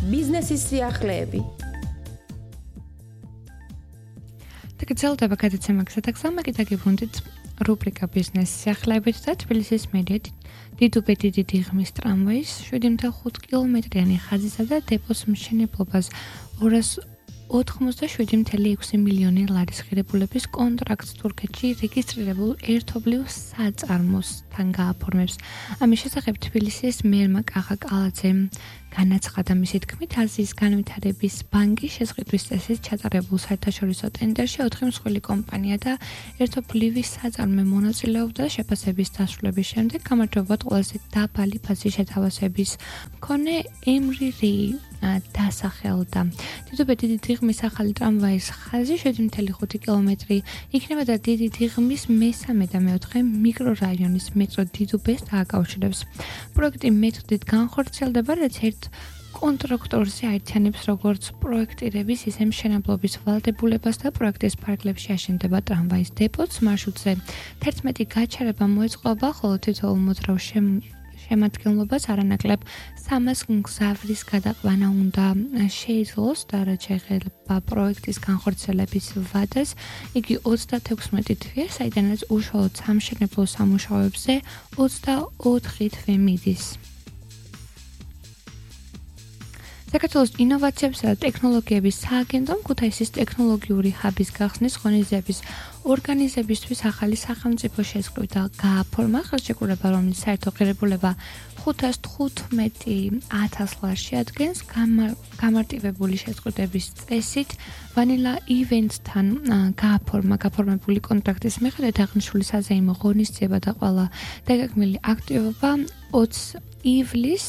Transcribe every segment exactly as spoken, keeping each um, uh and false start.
ბიზნესის სიახლეები. გრძელდება გადაცემა გზადაგზავნა კიდე გიბრუნდით რუბრიკა ბიზნეს სიახლეებით და თბილისის მერიად დიდუბე დიდი დიღმის ტრამვაის შვიდი ოცდაოთხ კილომეტრიანი ხაზისა და დეპოს მშენებლობას ორას ოთხმოცდაშვიდი целых ექვსი მილიონი ლარის ღირებულების კონტრაქტს თურქეთში რეგისტრირებულ ერთობლივ საწარმოსთან გააფორმებს. ამის შესახებ თბილისის მერმა კახა კალაძემ განაცხადა მისი თქმით, აზიის განვითარების ბანკის შესყიდვის წესით ჩატარებულ საერთაშორისო ტენდერში ოთხი მსხვილი კომპანია და ერთობლივი საწარმო მონაწილეობდა შეფასების დასრულების შემდეგ გამარჯვებულად ყველაზე დაბალი ფასის შეთავაზების მქონე ემრი დასახელდა. დიდუბე დიდი დიღმის ახალი ტრამვაის ხაზი შვიდი целых ხუთი კილომეტრი იქნება და დიდი დიღმის მესამე და მეოთხე მიკრორაიონის მეტრო დიდუბეს დააკავშირებს. პროექტი მეთოდით განხორციელდება, რაც ერთ კონტრაქტორზე აერთიანებს როგორც პროექტირების, ისე მშენებლობის ვალდებულებას და პროექტის ფარგლებში აშენდება ტრამვაის დეპოც მარშრუტზე. თერთმეტი გაჩერება მოეწყობა, ხოლო თითოეულ მოძრავ შემადგენლობას არანაკლებ სამას მგზავრის გადაყვანა უნდა შეძლოს და რაც შეეხება პროექტის განხორციელების ვადას, იგი ოცდათექვსმეტი თვეა, საიდანაც უშუალოდ სამშენებლო სამუშაოებზე ოცდაოთხი თვე მიდის. საქართველოს ინოვაციებსა და ტექნოლოგიების სააგენტომ ქუთაისის ტექნოლოგიური ჰაბის გახსნის ღონისძიების ორგანიზებისთვის ახალი სახელმწიფო შესყიდვა გააფორმა, ხელშეკრულება, რომლის საერთო ღირებულება ხუთას თხუთმეტი ათას ლარს შეადგენს. გამარტივებული შესყიდვების წესით ვანილა ივენთთან გააფორმა გაფორმებული კონტრაქტის მიხედვით აღნიშნული საზეიმო ღონისძიება და ყველა დაგეგმილი აქტივობა ოცი ივლისს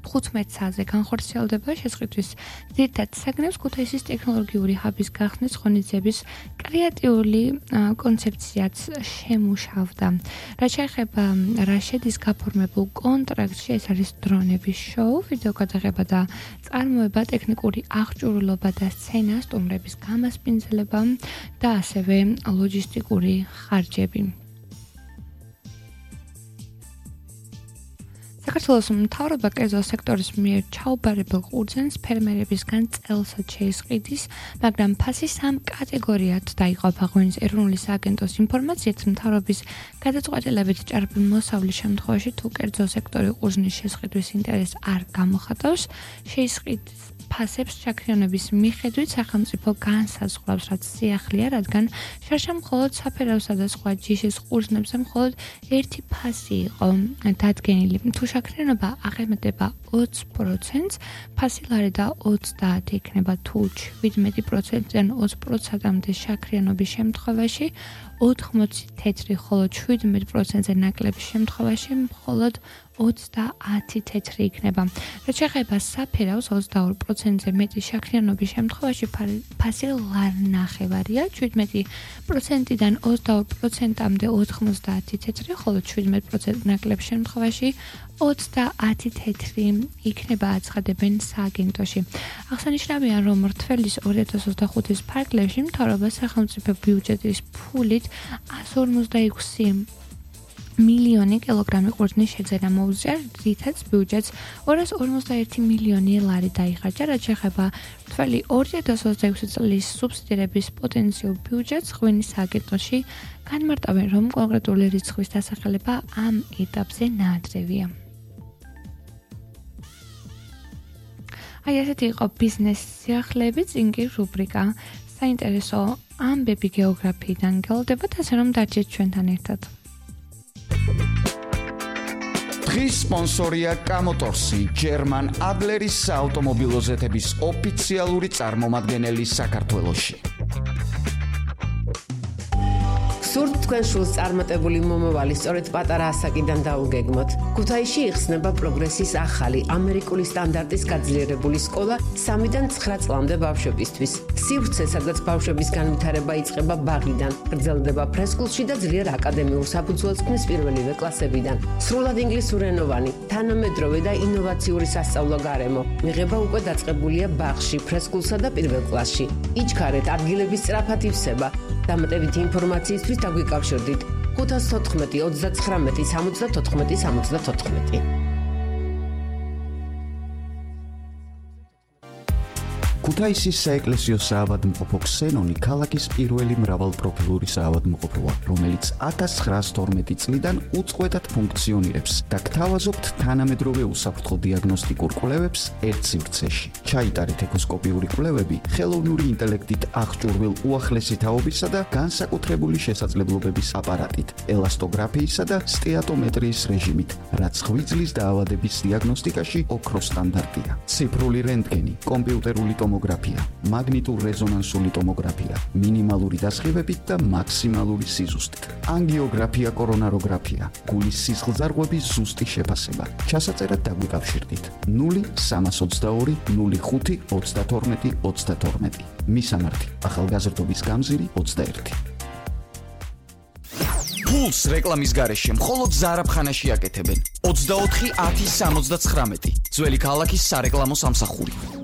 თხუთმეტ საათზე განხორციელდება. შესყიდვის ძირითად საგნებს ქუთაისის ტექნოლოგიური ჰაბის გახსნის ღონისძიების კრეატიული კონცეფციაც შემუშავდა. რაც შეეხება რა შედის გაფორმებულ კონტრაქტში, ეს არის დრონების შოუ, ვიდეო გადაღება და წარმოება, ტექნიკური აღჭურვილობა და სცენა, სტუმრების გამასპინძლება და ასევე ლოჯისტიკური ხარჯები. საქართველოს მთავრობა კერძო სექტორის მიერ ჩაუბარებელ ყურძენს ფერმერებისგან წელსაც შეისყიდის, მაგრამ ფასი სამ კატეგორიად დაიყოფა. ღვინის ეროვნული სააგენტოს ინფორმაციით, მთავრობის გადაწყვეტილებით ჭარბი მოსავლის შემთხვევაში თუ კერძო სექტორი ყურძნის შესყიდვის ინტერესს არ გამოხატავს, შეისყიდის ფასებს შაქრიანობის მიხედვით სახელმწიფო განსაზღვრავს, რაც სიახლეა, რადგან შარშა მხოლოდ საფერავსა და სხვა ჯიშის ყურძნებზე მხოლოდ ერთი ფასი იყო დადგენილი. თუ შაქრიანობა აღემატება ოცი პროცენტს, ფასი ლარი და ოცდაათი იქნება, თუ შვიდმეტი პროცენტიდან ოცი პროცენტამდე შაქრიანობის შემთხვევაში ოთხმოცი თეთრი, ხოლო შვიდმეტ პროცენტზე ნაკლების შემთხვევაში მხოლოდ ოცდაათი თეთრი იქნება. რაც შეეხება საფერავს, ოცდაორი პროცენტზე მეტი შაქრიანობის შემთხვევაში ფასი ლარნახევარია, შვიდმეტი პროცენტიდან ოცდაორი პროცენტამდე ოთხმოცდაათი თეთრი, ხოლო შვიდმეტ პროცენტ ნაკლების შემთხვევაში ოცდაათი თეთრი იქნება, აცხადებენ სააგენტოში. აღსანიშნავია, რომ რთველის ორი ათას ოცდახუთის ფარგლებში მთავრობა სახელმწიფო ბიუჯეტის ფულით ასი ორმოცდაექვსი მილიონი კილოგრამი ყურძნის შეძენა მოუწია, რითაც ბიუჯეტს ორას ორმოცდაერთი მილიონი ლარი დაიხარჯა. რაც შეეხება რთველი ორი ათას ოცდაექვსი წლის სუბსიდირების პოტენციურ ბიუჯეტს, ღვინის სააგენტოში განმარტავენ, რომ კონკრეტული რიცხვის დასახელება ამ ეტაპზე ნაადრევია. აი ესეთი იყო ბიზნეს სიახლეები, წინ კი რუბრიკა საინტერესო ამბები გეოგრაფიიდან გელოდებათ, ასე რომ დარჩეთ ჩვენთან ერთად. დღის სპონსორია კამოტორსი, ჯერმან ადლერის საავტომობილო ზეთების ოფიციალური წარმომადგენელი საქართველოში. სურთ თქვენ შულს წარმატებული მომავალი სწორედ პატარა ასაკიდან დაუგეგმოთ. ქუთაისში იხსნება პროგრესის ახალი ამერიკული სტანდარტის გაძლიერებული სკოლა სამიდან ცხრა წლამდე ბავშვებისთვის. სივრცე, სადაც ბავშვების განვითარება იწყება ბაღიდან, გრძელდება ფრესკულში და ძლიერ აკადემიურ საფუძველს ქმნის პირველივე კლასებიდან. სრულად ინგლისურენოვანი, თანამედროვე და ინოვაციური სასწავლო გარემო. მიღება უკვე დაწყებულია ბაღში, ფრესკულსა და პირველ კლასში. იჩქარეთ, ადგილების სწრაფად ივსება. დამატებითი ინფორმაციისთვის დაგვიკავშირდით ხუთას თოთხმეტი ოცდაცხრამეტი სამოცდათოთხმეტი სამოცდათოთხმეტი. ქუთაისის საეკლესიო საავადმყოფო ქსენონი ქალაქის პირველი მრავალპროფილური საავადმყოფოა, რომელიც ათას ცხრაას თორმეტი წლიდან უწყვეტად ფუნქციონირებს და გთავაზობთ თანამედროვე უსაფრთხო დიაგნოსტიკურ კვლევებს ერთ სივრცეში. ჩაიტარეთ ეკოსკოპიური კვლევები ხელოვნური ინტელექტით აღჭურვილ უახლესი თაობისა და განსაკუთრებული შესაძლებლობების აპარატით, ელასტოგრაფიისა და სტეატომეტრიის რეჟიმით, რაც ღვიძლის დაავადების დიაგნოსტიკაში ოქროს სტანდარტია. ციფრული რენტგენი, კომპიუტერული ტომოგრაფია, მაგნიტურ-რეზონანსული ტომოგრაფია, მინიმალური დასხივებით და მაქსიმალური სიზუსტით. ანგიოგრაფია, კორონაროგრაფია, გულის სისხლძარღვების ზუსტი შეფასება. ჩასაწერად დაგვიკავშირდით ნული სამას ოცდაორი ნული ხუთი ოცდათორმეტი ოცდათორმეტი. მისამართი: ახალგაზრდობის გამზირი ოცდაერთი. ფულს რეკლამის გარეშე მხოლოდ ზარაფხანაში აკეთებენ. ოცდაოთხი ათი სამოცდაცხრამეტი. ძველი ქალაქის სარეკლამო სამსახური.